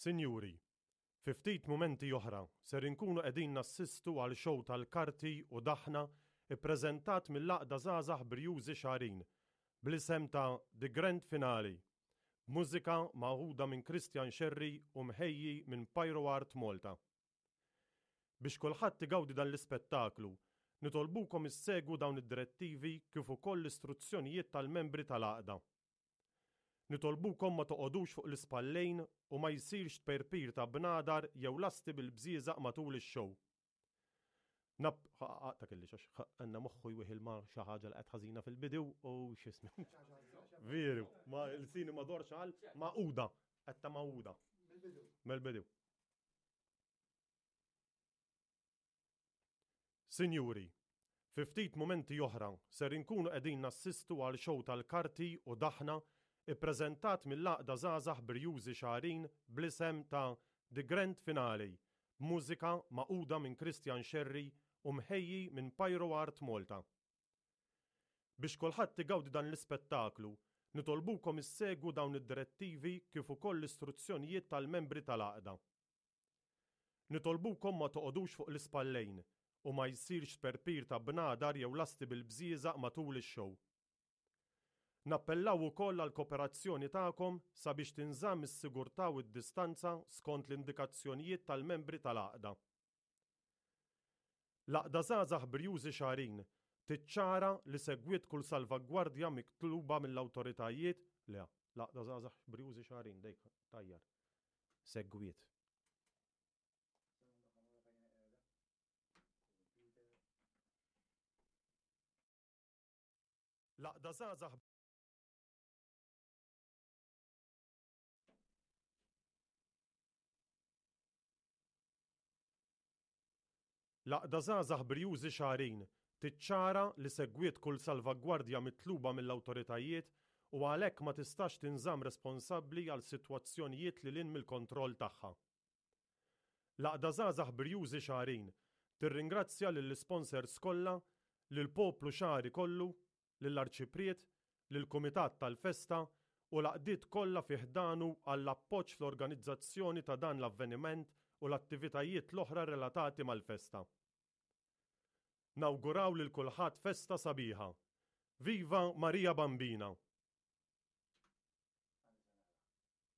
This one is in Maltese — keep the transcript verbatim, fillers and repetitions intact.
Sinjuri, fi ftit mumenti oħra ser inkunu qegħdin nassistu għal show tal-karti u daħna ippreżentat mill-Għaqda Żgħażagħ Brijużi Xagħrin bl-isem ta' The Grand Finale, b'mużika magħhuda minn Christian Scerri u mħejji minn Pyro Art Malta. Biex kulħadd igawdi dan l-ispettaklu, nitolbukom issegwu dawn id-direttivi kif ukoll l-istruzzjonijiet tal-membri tal-għaqda. Nitolbukom ma toqogħdux fuq l-ispallejn u ma jsirx tperpir ta' bnadar jew lasti bil-bżieżaq matul ix-show. Nap, ta' kelli xax, għanna moħħu jwieħil ma xi ħaġa li qed ħażina fil-bidu u x'ismi. Veru, ma l-sini ma dorx għal maquda, qed ta' maquda. Mill-bidu. Sinjuri, fi ftit mumenti oħra ser inkunu qegħdin nassistu għal show tal-karti u daħna ippreżentat mill-Għaqda Żgħażagħ Brijużi Xagħrin bl-isem ta' The Grand Finale, b'mużika magħquda minn Christian Scerri u mħejji minn Pyro Art Malta. Biex kulħadd igawdi dan l-ispettaklu, nitolbukom issegwu dawn id-direttivi kif ukoll l-istruzzjonijiet tal-membri tal-għaqda. Nitolbukom ma toqogħdux fuq l-ispallejn u ma jsirx tperpir ta' bnadar jew lasti bil-bżieżaq matul ix-show. Nappellaw ukoll għall-kooperazzjoni tagħkom sabiex tinżamm is-sigurtà u d-distanza skont l-indikazzjonijiet tal-membri tal-għaqda. L-Għaqda Żgħażagħ Brijużi Xagħrin tiċċara li segwiet kull salvagwardja mitluba mill-awtoritajiet, le, l-Għaqda Żgħażagħ Brijużi Xagħrin dejk tajjar. Segwiet. L-Għaqda Żgħażagħ L-Għaqda Żgħażagħ Brijużi Xagħrin tiċċara li segwiet kull salvagwardja mitluba mill-awtoritajiet u għalhekk ma tistax tinżamm responsabbli għal sitwazzjonijiet lil hinn mill-kontroll tagħha. L-Għaqda Żgħażagħ Brijużi Xagħrin tirringrazzja lill-isponsors kollha, lill-poplu xagħri kollu, lill-Arċipriet, lill-Kumitat tal-Festa u l-għaqdiet kollha fi ħdanu għall-appoġġ fl-organizzazzjoni ta' dan l-avveniment u l-attivitajiet l-oħra relatati mal-festa. Nawguraw lil kulħadd festa sabiħa. Viva Marija Bambina!